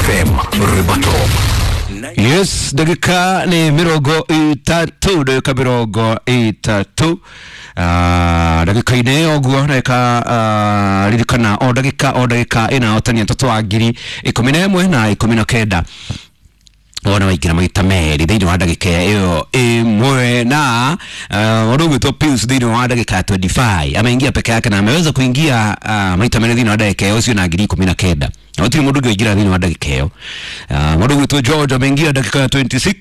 FM Ribatop. Yes, dakika ni 30, dakika 30, ndagĩka-inĩ ũguo ndagĩka, ririkana o ndagĩka o ndagĩka ĩna hotani atatũ wa 11,000 na 19 wona waingĩra maita merĩ thĩinĩ wa ndagĩka ĩyo ĩmwe na mũndũ ũgwĩtwo Pius thĩinĩ wa ndagĩka ya 25 ameingia peke yake na ameweza kuingia maita merĩ thĩinĩ wa ndagĩka ĩyo ũcio na 19,000 na gũtirĩ mũndũ ũngĩ waingĩra thĩinĩ wa ndagĩka ĩyo. Mũndũ ũgwĩtwo George ameingia ndagĩka ya 26.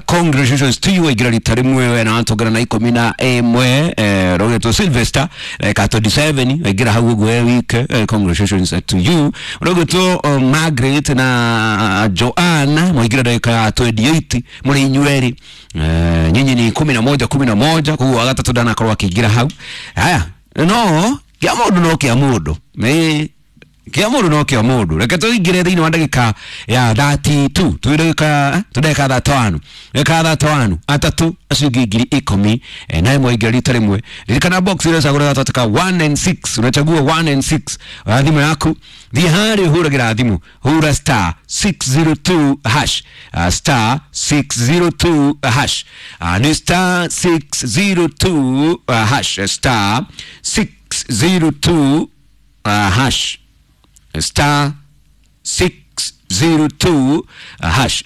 Congratulations to you, waingĩra rita rĩmwe we na watongana na 11. Ũgwĩtwo Sylvester ndagĩka ya 27 waingĩra hau ũguo we wike. Congratulations to you. Ũgwĩtwo Margaret na Joanna mwaingĩra ndagĩka ya 28 mũrĩ inyuerĩ. Nyinyi ni 11 11, koguo wa gatatũ ndanakorwo akĩingĩra hau. Haya, no kĩa mũndũ no kĩa mũndũ, nĩ kĩa mũndũ no kĩa mũndũ. Reke tũingĩre thĩinĩ wa ndagĩka ya 32, twĩ ndagĩka tũ ndagĩka 31, ndagĩka 31 atatũ acio ingĩ 10,000 na ĩmwe ingĩra rita rĩmwe. Ririkana box ĩrĩa ũcagũra gatagatĩ ka 1 and 6, unachagua 1 and 6. Oya thimũ yaku, thiĩ harĩa ũhũragĩra thimũ, hũra star 602 hash, star 602 hash, nĩ star 602 hash, star 602 hash, star 602 hash.